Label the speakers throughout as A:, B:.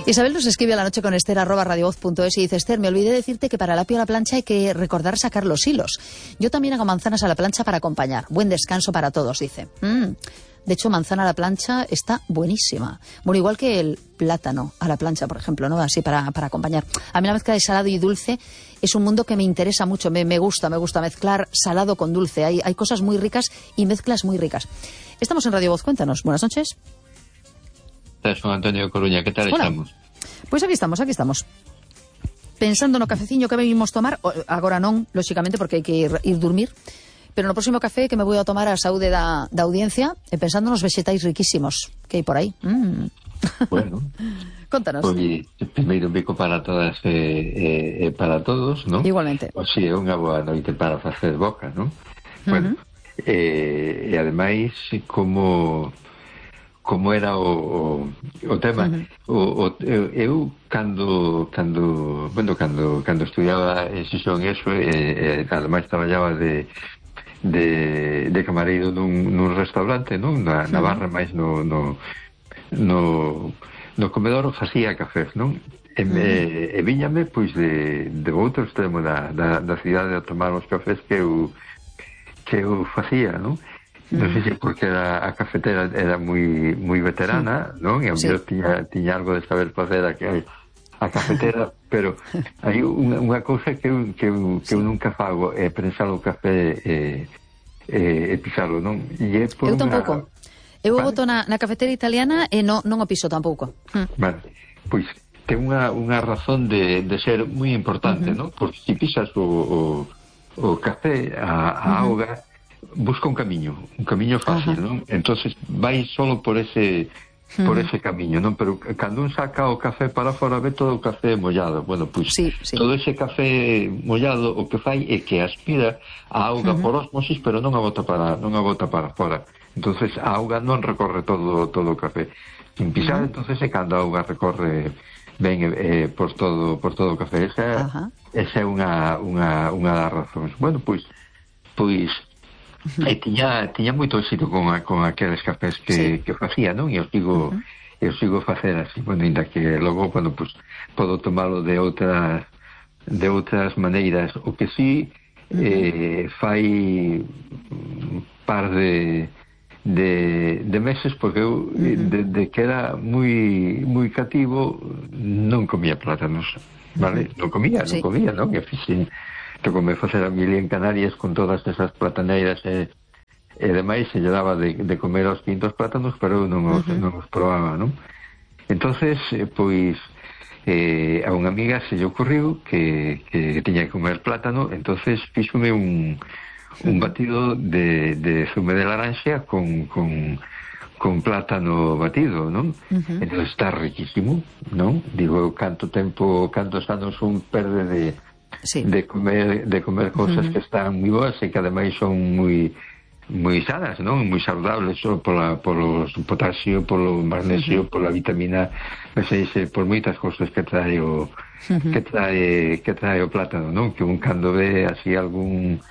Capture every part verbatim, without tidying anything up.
A: Isabel nos escribe a la noche con Esther arroba radiovoz punto es y dice: Esther, me olvidé decirte que para el apio a la plancha hay que recordar sacar los hilos. Yo también hago manzanas a la plancha para acompañar. Buen descanso para todos, dice. Mm. De hecho, manzana a la plancha está buenísima. Bueno, igual que el plátano a la plancha, por ejemplo, ¿no? Así para, para acompañar. A mí la mezcla de salado y dulce es un mundo que me interesa mucho. Me, me gusta, me gusta mezclar salado con dulce. Hay, hay cosas muy ricas y mezclas muy ricas. Estamos en Radio Voz, cuéntanos. Buenas noches.
B: Son Antonio Coruña, ¿qué tal
A: Hola.
B: Estamos?
A: Pois aquí estamos, aquí estamos. Pensando no cafeciño que vimos tomar, agora non, lóxicamente, porque hai que ir, ir dormir, pero no próximo café que me vou a tomar a saúde da, da audiencia, e pensando nos vegetais riquísimos que hai por aí. Mm.
B: Bueno,
A: contanos.
B: Pois, primeiro un bico para todas e eh, eh, para todos, non?
A: Igualmente.
B: O si, é unha boa noite para facer boca, non? Bueno, uh-huh. eh, e ademais, como... como era o, o, o tema. Uh-huh. o, o, eu, cando, cando, bueno, cando, cando estudiaba en Xixón eso, e, e ademais traballaba de, de, de camareiro nun, nun restaurante, non? Na, na barra, máis no, no, no, no comedor facía cafés, non? E, uh-huh. e, e viñame, pois, de, de outro extremo da, da, da cidade a tomar os cafés que eu, que eu facía, non? Non sei se porque era, a cafetera era moi moi veterana, sí. non? E a sí. mellor tiña, tiña algo de saber facer a, a cafetera, pero hai unha, unha cousa que eu, que eu, que eu nunca fago é prensar o café e, e, e pisalo, non? E é por
A: eu tampouco. Una... Eu
B: vale.
A: boto na, na cafetera italiana e non, non o piso tampouco. Hm.
B: Vale, pois ten unha, unha razón de, de ser moi importante, uh-huh. non? Porque se pisas o, o, o café, a, a uh-huh. auga, busca un camiño, un camiño fácil, uh-huh. non? Entonces vai solo por ese por uh-huh. ese camiño, non? Pero cando un saca o café para fora ve todo o café mollado. Bueno, pois pues, sí, sí. todo ese café mollado o que fai é que aspira a auga uh-huh. por osmosis, pero non a bota para non a bota para fora. Entonces a auga non recorre todo todo o café. Sin pisar, uh-huh. entonces é cando a auga recorre ben eh, por todo por todo o café. Esa, uh-huh. esa é unha unha unha das razóns. Bueno, pois pois Uh-huh. E tiña, tiña moito éxito con, a, con aqueles cafés que, sí. que facía, non? E eu sigo, uh-huh. eu sigo facer así, bueno, ainda que logo, bueno, pues, podo tomalo de outras de outras maneiras. O que sí uh-huh. eh, fai un par de de, de meses, porque eu uh-huh. de, de que era moi moi cativo non comía plátanos, vale? Uh-huh. Non comía, non sí. comía, non? E fixen que comecei a facer a mili en Canarias con todas esas plataneiras e, e demais, se lle daba de, de comer aos quintos plátanos, pero eu non os, uh-huh. non os probaba, non? Entonces, eh, pois eh, a unha amiga se lle ocurriu que, que tiña que comer plátano, entonces fíxome un, un batido de, de zume de laranxa con, con, con plátano batido, non? Uh-huh. Entonces está riquísimo, non? Digo, canto tempo, cantos anos un perde de Sí. de comer de comer cosas uh-huh. que están moi boas e que ademais son moi moi sanas, non? Moi saludables, só pola polo potasio, polo magnesio, uh-huh. pola vitamina B seis, por moitas cosas que trae o uh-huh. que trae que trae o plátano, non? Que un cando ve así algún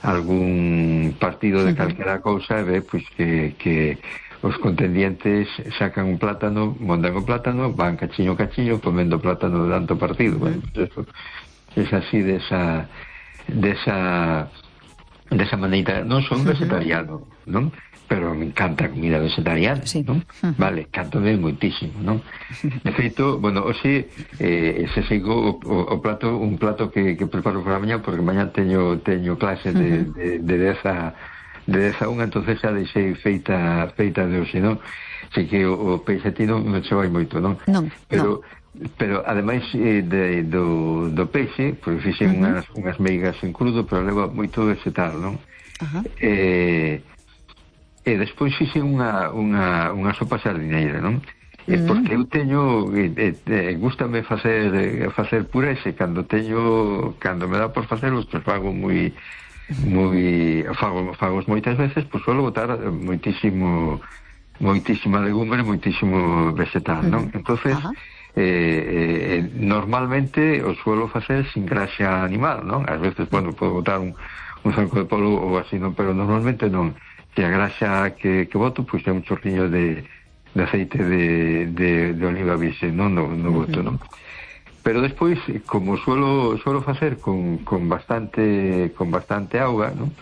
B: algún partido de uh-huh. calquera cousa ve pois que que os contendientes sacan un plátano, montan o plátano, van cachiño cachiño comendo plátano de tanto partido, uh-huh. bueno, pues eso es así de esa de esa de esa maneira. Non son vegetariano, non? Pero me encanta a comida vegetariana, sí. non? Uh-huh. Vale, cántome moitísimo, non? De feito, bueno, hoxe eh, se sigo o, o, o plato, un plato que, que preparo para mañá, porque mañá teño teño clase de, uh-huh. de, de dez a de dez a unha, entonces xa deixei feita feita de hoxe, non? Así que o, o peixetino non se vai moito, non?
A: Non,
B: pero
A: non.
B: Pero ademais eh, de, do, do peixe, pois fixen uh-huh. unhas, unhas meigas en crudo, pero leva moito vegetal, non? Uh-huh. E, e despois fixen unha, unha, unha sopa sardineira, non? Uh-huh. Porque eu teño, e, e, gústame facer facer purés, e cando teño, cando me dá por facelos, pois fago moi moi fago, fago moitas veces, pois suelo botar moitísimo moitísima legumbre, moitísimo vegetal, non? Uh-huh. Entonces uh-huh. Eh, eh, normalmente o suelo facer sin graxa animal, non? Ás veces, bueno, podo botar un, un zanco de polo ou así, non? Pero normalmente non. Que a graxa que, que boto, pois é un chorriño de, de aceite de, de, de oliva virxe, non? No, no boto, non? Pero despois, como suelo suelo facer con, con bastante con bastante auga, non?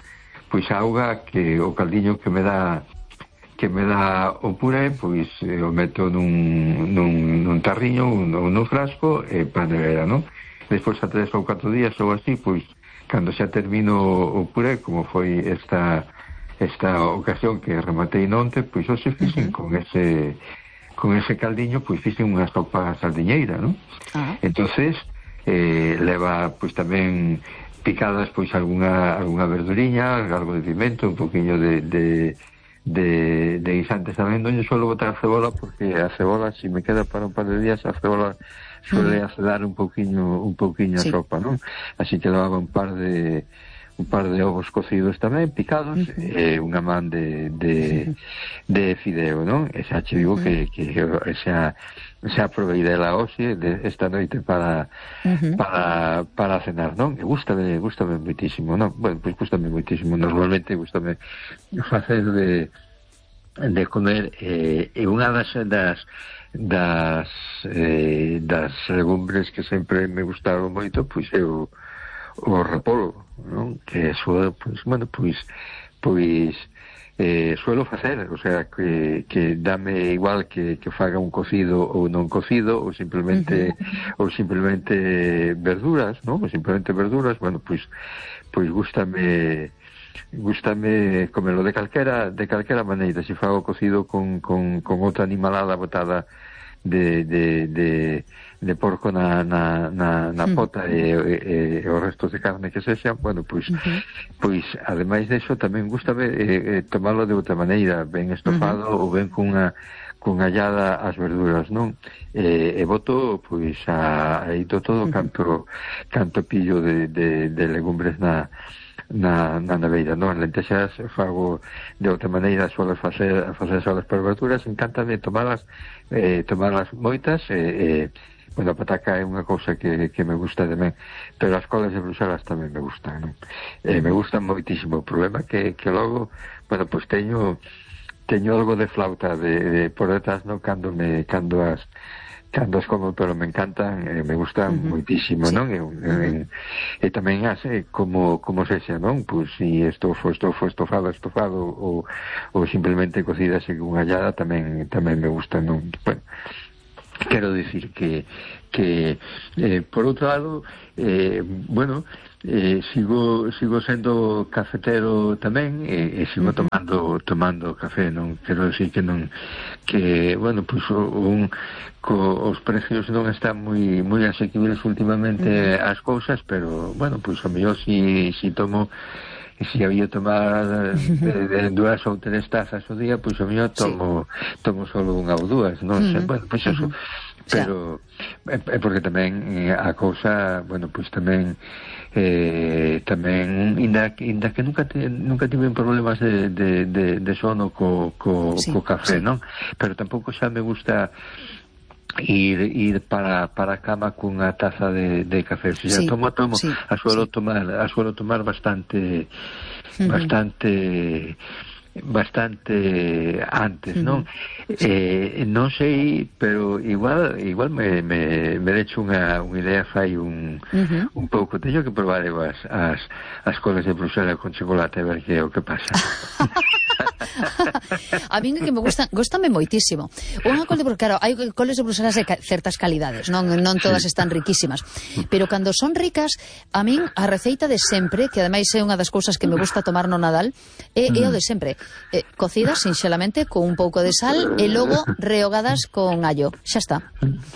B: Pois a auga que o caldiño que me dá que me dá o puré, pois eh, o meto nun, nun, nun tarriño ou nun, nun frasco e pa nevera, non? Despois a tres ou catro días ou así, pois cando xa termino o puré, como foi esta esta ocasión que rematei nonte, pois hoxe fixen uh-huh. con ese con ese caldiño, pois fixen unha sopa sardiñeira, non? Uh-huh. Entonces eh, leva pois tamén picadas pois algunha algunha verduriña, algo de pimento, un poquinho de de de, de guisantes tamén. Non lle suelo botar cebola porque a cebola, se si me queda para un par de días, a cebola suele acedar un poquinho un poquinho sí. a sopa, non? Así que levaba un par de un par de ovos cocidos tamén, picados, uh-huh. e unha man de, de, de fideo, non? E xa che digo uh-huh. que, que xa, xa provei dela hoxe, de esta noite para, uh-huh. para, para cenar, non? E gústame, gústame moitísimo, non? Bueno, pois gústame moitísimo, normalmente gústame facer de, de comer, e eh, unha das, das das eh, das legumbres que sempre me gustaron moito, pois é o o repolo, non? Que suelo, pois, bueno, pois pois eh, suelo facer, o sea, que, que dame igual que, que faga un cocido ou non cocido, ou simplemente uh-huh. ou simplemente verduras, non? Ou simplemente verduras, bueno, pois pois gústame gústame comelo de calquera de calquera maneira, se fago cocido con, con, con outra animalada botada de, de, de, de porco na, na, na, na pota e, e, e os restos de carne que sexan, bueno, pois uh-huh. pois ademais deso tamén gústame eh, tomalo de outra maneira, ben estofado uh-huh. ou ben cunha con allada as verduras, non? E, e boto, pois, a, aí do todo uh-huh. canto canto pillo de, de, de legumbres na na, na neveira, non? Lentexas fago de outra maneira, suelo facer facer solas para verduras, encántame tomalas eh, tomalas moitas e eh, eh, bueno, a pataca é unha cousa que, que me gusta tamén, pero as colas de Bruxelas tamén me gustan, non? Eh, me gustan moitísimo. O problema que, que logo, bueno, pois pues teño teño algo de flauta de, de por detrás, non? Cando me cando as cando as como, pero me encantan, eh, me gustan uh-huh. moitísimo, sí. non? E, uh-huh. e tamén hace como como sexa, non? Pois si isto foi estofo, estofado, estofado ou, ou simplemente cocida con allada, tamén tamén me gusta, non? Bueno, quero dicir que que eh, por outro lado, eh, bueno, eh, sigo sigo sendo cafetero tamén e, e sigo uh-huh. tomando tomando café, non quero dicir que non que, bueno, pois pues, un co, os precios non están moi moi asequibles últimamente uh-huh. as cousas, pero bueno, pois pues, a mellor si si tomo si había tomar de, de dúas ou tres tazas ao día, pois pues, a mellor tomo sí. tomo solo unha ou dúas, non sei, uh-huh. bueno, pois pues, eso uh-huh. pero é eh, porque tamén eh, a cousa, bueno, pois pues, tamén eh, tamén inda, inda que nunca te, nunca tive problemas de, de, de, de sono co, co, sí, co café, sí. non? Pero tampouco xa me gusta ir ir para para a cama cunha taza de, de café. Se xa sí, tomo, tomo, sí, a suelo sí. tomar, a suelo tomar bastante uh-huh. bastante bastante antes, uh-huh. non? Sí. Eh, non sei, pero igual igual me me me decho unha unha idea fai un uh-huh. un pouco, teño que probar as as as colas de Bruxelas con chocolate a ver que é o que pasa.
A: A min que me gustan, gustame moitísimo. Unha col de Bruxelas, claro, hai coles de Bruxelas de ca- certas calidades, non non todas están riquísimas, pero cando son ricas, a min a receita de sempre, que ademais é unha das cousas que me gusta tomar no Nadal, é, é o de sempre. Eh, cocidas sinxelamente con un pouco de sal e logo rehogadas con allo. Xa está.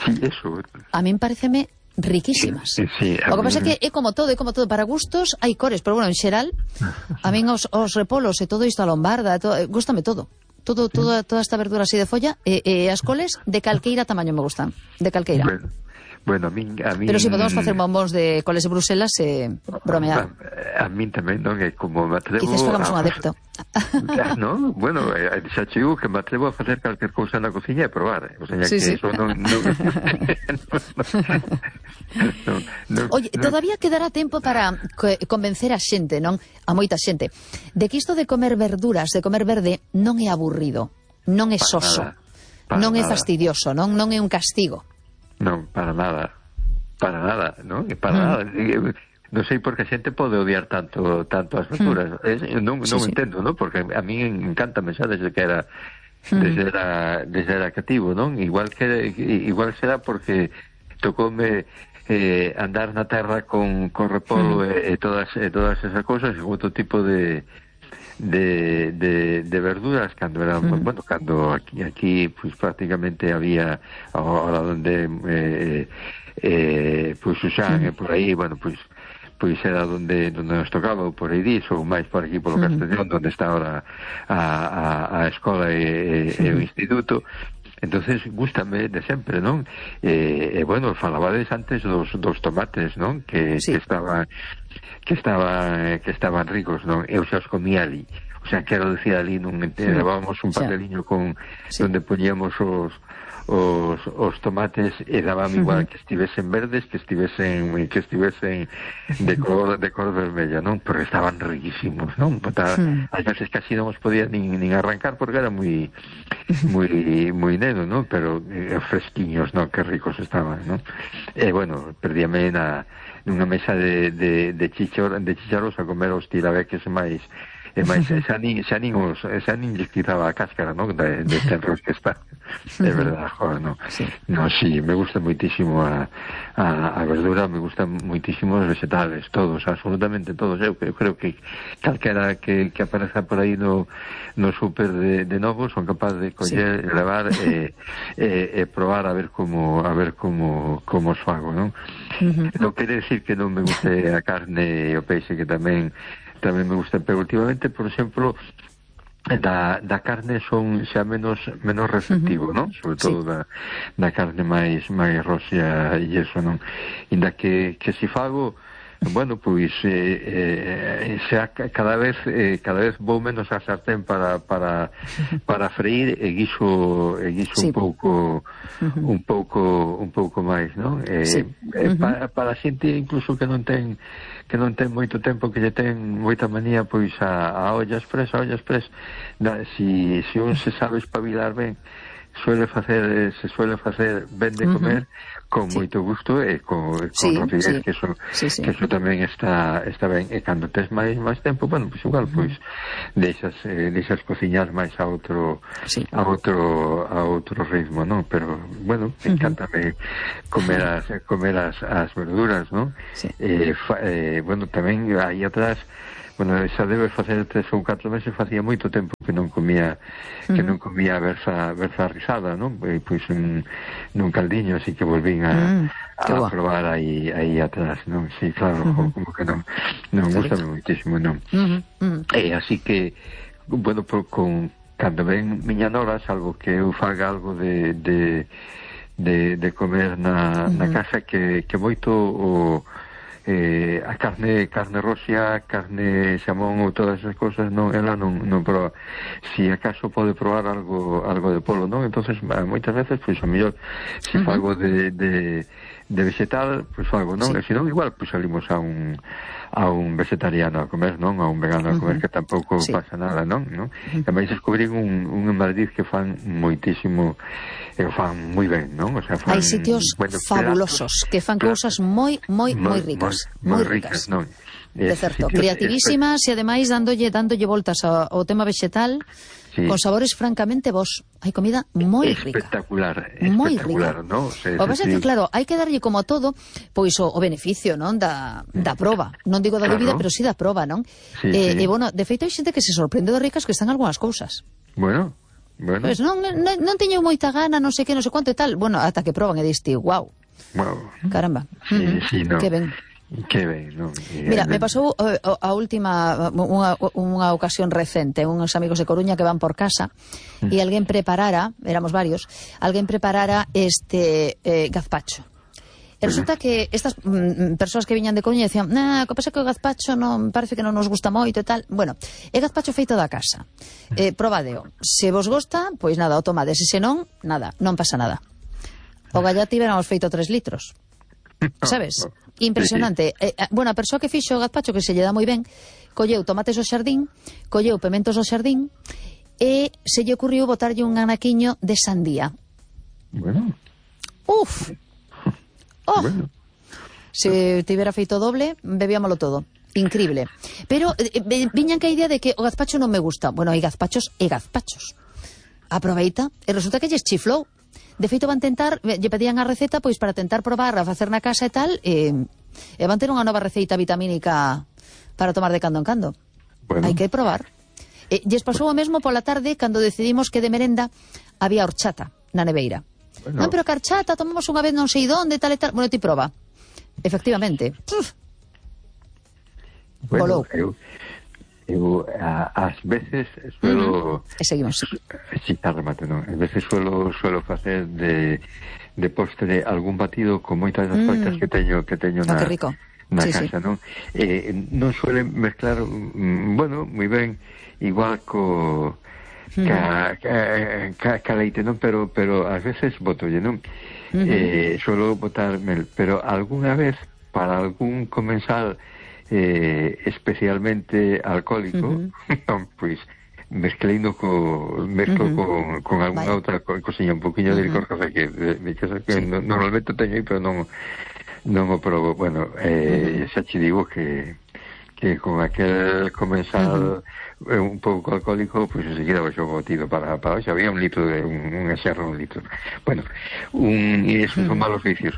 B: Sí, eso.
A: A min pareceme riquísimas.
B: Sí, sí,
A: o que pasa é que é como todo, é como todo, para gustos hai cores, pero bueno, en xeral a min os, os repolos e todo isto a lombarda, todo, gústame todo. Todo, toda, toda esta verdura así de folla e, e as coles de calqueira tamaño me gustan, de calqueira.
B: Bueno. Bueno, a min, a min...
A: Pero si podemos facer bombóns de coles de Bruxelas e eh, bromear.
B: A, a min tamén, non? É como me atrevo...
A: Quizás fagamos un adepto.
B: Non? Bueno, xa che digo que me atrevo a facer calquer cousa na cociña e probar. O sea,
A: sí,
B: que
A: sí.
B: eso non... non, non, non
A: Oye,
B: non.
A: todavía quedará tempo para convencer a xente, non? A moita xente, de que isto de comer verduras, de comer verde, non é aburrido, non é soso.
B: para
A: non é
B: nada.
A: fastidioso, non non é un castigo.
B: Non, para nada. Para nada, non? Para
A: Mm.
B: nada. Non sei por que a xente pode odiar tanto tanto as verduras. Mm. Non, non
A: Sí, sí.
B: entendo, non? Porque a mí encanta xa desde que era desde era, desde era cativo, non? Igual que igual será porque tocoume eh, andar na terra con, con repolo mm. e, e todas e todas esas cousas, e outro tipo de de, de, de verduras cando eran, mm. bueno, cando aquí aquí pues prácticamente había ahora donde eh, eh, pues Susán mm. e por aí, bueno, pues pois era donde donde nos tocaba, por aí diso, ou máis por aquí polo Castellón, donde está ahora a, a, a escola e, e, e o instituto. Entonces, gústame de sempre, non? E, e bueno, falabades antes dos, dos tomates, non? Que, sí. que estaban que estaban que estaban ricos, non? Eu xa os comía ali. O sea, quero decir, ali non levábamos un papeliño con sí. donde poñíamos os os, os tomates e daban igual uh-huh. que estivesen verdes, que estivesen que estivesen de color de color vermella, non? Porque estaban riquísimos, non? Uh-huh. Ás veces casi non os podía nin, nin arrancar porque era moi moi moi neno, non? Pero eh, fresquiños, non? Que ricos estaban, non? E bueno, perdíame na nunha mesa de de de chichor, de chicharros a comer os tirabeques máis e máis xa nin, xa nin, os, xa nin lles quitaba a cáscara, non? De, de tenros que está. É verdade, joder, non? Sí. No, sí, me gusta moitísimo a, a, a verdura, me gustan moitísimo os vegetales, todos, absolutamente todos. Eu, eu creo que calquera que, que apareza por aí no, no súper de, de novo son capaz de coller, sí. levar e, e, e probar a ver como a ver como, como os fago, non? Uh-huh. Non quere decir que non me guste a carne e o peixe, que tamén tamén me gusta, pero últimamente, por exemplo, da, da carne son xa menos menos receptivo, uh-huh. non? Sobre todo sí. da, da carne máis máis roxa e eso, non? Inda que, que si fago, bueno, pois eh, eh, xa cada vez eh, cada vez vou menos a sartén para para para freír e guiso e guiso sí. un pouco uh-huh. un pouco un pouco máis, non? Eh, sí. eh, uh-huh. para, para a xente incluso que non ten que non ten moito tempo, que lle ten moita manía pois a, a olla express, a olla express, da, si, si un se sabe espabilar ben, suele facer, se suele facer ben de comer, uh-huh. con sí. moito gusto e con, con sí, rapidez, sí. que eso sí, sí. que eso tamén está está ben, e cando tes máis máis tempo, bueno, pois igual, pois deixas eh, deixas cociñar máis a outro sí. a outro a outro ritmo, non? Pero bueno, uh-huh. encántame comer as comer as, as verduras, non? Sí. Eh, fa, eh, bueno, tamén aí atrás, bueno, xa debe facer tres ou catro meses, facía moito tempo que non comía que mm. non comía berza, berza rizada, non? E, pois un, nun caldiño, así que volvín a, mm, a probar aí, aí atrás, non? Sí, claro, mm-hmm. como que non non gusta moitísimo, non? Mm-hmm. Mm-hmm. E así que, bueno, por, con cando ven miña nora, algo que eu faga algo de de, de, de comer na, mm-hmm. na casa, que, que moito o Eh, a carne carne roxa, carne xamón ou todas esas cosas, non, ela non, non proba. Si acaso pode probar algo algo de polo, non? Entonces, moitas veces, pois, a mellor, se uh-huh. fago de, de, de vegetal, pois fago, non? Sí. E se non, igual, pois salimos a un a un vegetariano a comer, non? A un vegano a comer, uh-huh. que tampouco sí. pasa nada, non? non? Uh-huh. E máis descubrín un, un en Madrid que fan moitísimo, e o fan moi ben, non? O sea, fan,
A: hai sitios bueno, fabulosos platos, que fan cousas moi, moi, moi ricas.
B: Moi, moi ricas, non?
A: De certo, creativísimas e ademais dándolle dándolle voltas ao, ao tema vegetal, sí. con sabores francamente vos. Hai comida moi rica.
B: Espectacular,
A: moi
B: espectacular,
A: rica.
B: ¿no? Se,
A: o que pasa é que, claro, hai que darlle como a todo, pois o, o beneficio, non? Da, da proba. Non digo da claro. dúbida, pero sí da proba, non?
B: Sí,
A: eh,
B: sí.
A: E, bueno, de feito hai xente que se sorprende de ricas que están algunhas cousas.
B: Bueno, bueno.
A: Pois non, non, non teño moita gana, non sei que, non sei quanto e tal. Bueno, ata que proban e diste, guau.
B: Wow.
A: Caramba.
B: Sí,
A: uh-huh.
B: sí, no.
A: Que ben.
B: Que ben, non?
A: Mira, me pasou uh, a última unha, unha ocasión recente, uns amigos de Coruña que van por casa mm. e alguén preparara, éramos varios, alguén preparara este eh, gazpacho. E resulta que estas mm, persoas que viñan de Coruña decían, nah, que pasa que o gazpacho non parece que non nos gusta moito e tal. Bueno, é gazpacho feito da casa. Eh, probadeo. Se vos gosta, pois nada, o tomades. E se non, nada, non pasa nada. O gallati veramos feito tres litros. Sabes? Impresionante. Sí, sí. Eh, bueno, a persoa que fixo o gazpacho, que se lle dá moi ben, colleu tomates ao xardín, colleu pementos ao xardín e se lle ocurriu botarlle un anaquiño de sandía.
B: Bueno.
A: Uf. Oh.
B: Bueno.
A: Se tivera feito doble, bebíamolo todo. Increíble. Pero eh, viñan que a idea de que o gazpacho non me gusta. Bueno, hai gazpachos e gazpachos. Aproveita, e resulta que lles chiflou. De feito van tentar, lle pedían a receta pois para tentar probar a facer na casa e tal, e, e van ter unha nova receita vitamínica para tomar de cando en cando. Bueno. Hai que probar. E lles pasou o mesmo pola tarde cando decidimos que de merenda había horchata na neveira. Bueno. Non, pero que horchata tomamos unha vez non sei donde, tal e tal. Bueno, ti proba. Efectivamente. Uf.
B: Bueno, eu, eu a, ás veces suelo...
A: Uh-huh. E seguimos.
B: Sí, está remate, non? Ás veces suelo, suelo facer de, de postre algún batido con moitas das coitas mm. que teño que teño
A: na,
B: oh,
A: que rico.
B: na
A: sí,
B: casa,
A: sí.
B: non? Eh, non suelen mezclar, mm, bueno, moi ben, igual co... Ca, ca, ca, ca leite, non? Pero, pero ás veces botolle, non? Uh-huh. Eh, suelo botar mel, pero algunha vez para algún comensal eh, especialmente alcohólico, uh-huh. pois mezcleino co mezclo uh-huh. con, con algunha outra cosiña, un poquinho uh-huh. de licor café que, de, de, que sí. no, normalmente teño aí, pero non non o probo. Bueno, eh, uh-huh. xa che digo que que con aquel comensal uh-huh. un pouco alcohólico, pois pues, enseguida baixou o botido para, para hoxe, había un litro de un, un exerro, un litro. Bueno, un, e esos uh-huh. son malos vicios.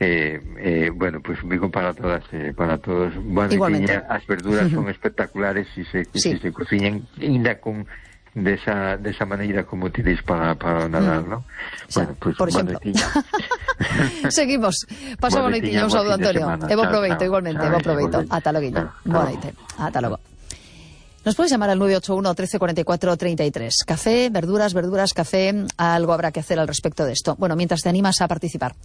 B: Eh, eh, bueno, pues digo para todas, eh, para todos. Bueno, tiña, as verduras uh-huh. son espectaculares e se, sí. si se cociñan ainda con desa de desa maneira como tiréis para para o Nadal, uh-huh. ¿no? Bueno, pues
A: por exemplo. Seguimos. Pasa boa noitiña, un saúdo, Antonio. E bo proveito, igualmente, bo proveito. Ata logo. Boa noite. Ata logo. Nos puedes llamar al nueve ocho uno, trece cuarenta y cuatro, treinta y tres. Café, verduras, verduras, café. Algo habrá que hacer al respecto de esto. Bueno, mientras te animas a participar.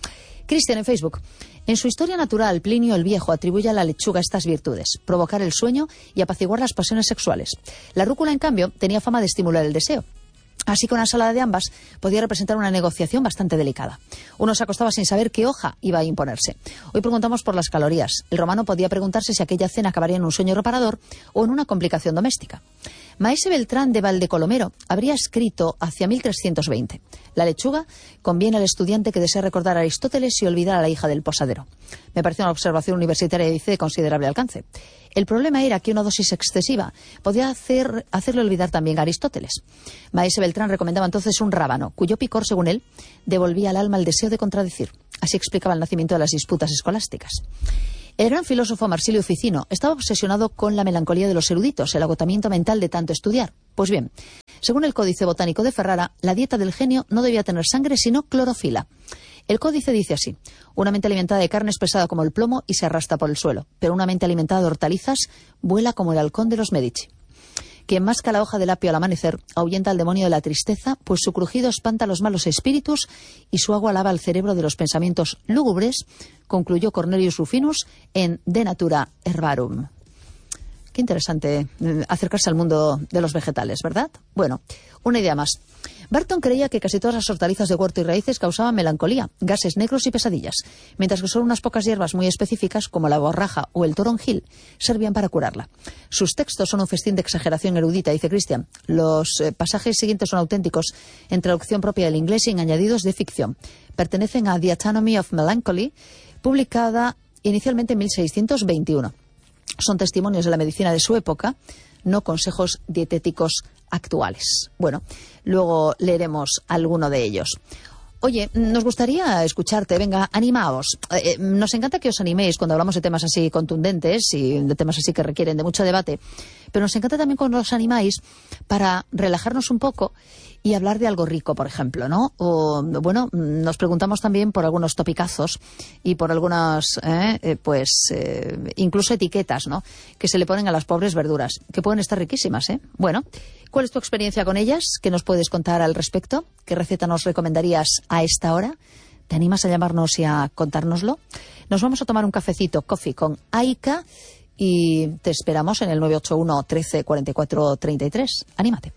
A: Cristian en Facebook. En su historia natural, Plinio el Viejo atribuye a la lechuga estas virtudes: provocar el sueño y apaciguar las pasiones sexuales. La rúcula, en cambio, tenía fama de estimular el deseo. Así que una ensalada de ambas podía representar una negociación bastante delicada. Uno se acostaba sin saber qué hoja iba a imponerse. Hoy preguntamos por las calorías. El romano podía preguntarse si aquella cena acabaría en un sueño reparador o en una complicación doméstica. Maese Beltrán de Valdecolomero habría escrito hacia mil trescientos veinte: la lechuga conviene al estudiante que desea recordar a Aristóteles y olvidar a la hija del posadero. Me parece una observación universitaria, dice, de considerable alcance. El problema era que una dosis excesiva podía hacer, hacerle olvidar también a Aristóteles. Maese Beltrán recomendaba entonces un rábano, cuyo picor, según él, devolvía al alma el deseo de contradecir. Así explicaba el nacimiento de las disputas escolásticas. El gran filósofo Marsilio Ficino estaba obsesionado con la melancolía de los eruditos, el agotamiento mental de tanto estudiar. Pues bien, según el Códice Botánico de Ferrara, la dieta del genio no debía tener sangre, sino clorofila. El códice dice así: una mente alimentada de carne es pesada como el plomo y se arrastra por el suelo, pero una mente alimentada de hortalizas vuela como el halcón de los Medici. Quien masca la hoja del apio al amanecer ahuyenta al demonio de la tristeza, pues su crujido espanta a los malos espíritus y su agua lava el cerebro de los pensamientos lúgubres, concluyó Cornelius Rufinus en De Natura Herbarum. Qué interesante acercarse al mundo de los vegetales, ¿verdad? Bueno, una idea más. Barton creía que casi todas las hortalizas de huerto y raíces causaban melancolía, gases negros y pesadillas, mientras que solo unas pocas hierbas muy específicas, como la borraja o el toronjil, servían para curarla. Sus textos son un festín de exageración erudita, dice Christian. Los eh, pasajes siguientes son auténticos, en traducción propia del inglés y en añadidos de ficción. Pertenecen a The Anatomy of Melancholy, publicada inicialmente en mil seiscientos veintiuno. Son testimonios de la medicina de su época, no consejos dietéticos actuales. Bueno, luego leeremos alguno de ellos. Oye, nos gustaría escucharte, venga, animaos. Eh, nos encanta que os animéis cuando hablamos de temas así contundentes y de temas así que requieren de mucho debate, pero nos encanta también cuando os animáis para relajarnos un poco y hablar de algo rico, por ejemplo, ¿no? O, bueno, nos preguntamos también por algunos topicazos y por algunas, eh, eh, pues, eh, incluso etiquetas, ¿no?, que se le ponen a las pobres verduras, que pueden estar riquísimas, ¿eh? Bueno, ¿cuál es tu experiencia con ellas? ¿Qué nos puedes contar al respecto? ¿Qué receta nos recomendarías a esta hora? ¿Te animas a llamarnos y a contárnoslo? Nos vamos a tomar un cafecito, coffee con Aika, y te esperamos en el nueve ocho uno, trece, cuarenta y cuatro, treinta y tres. Anímate.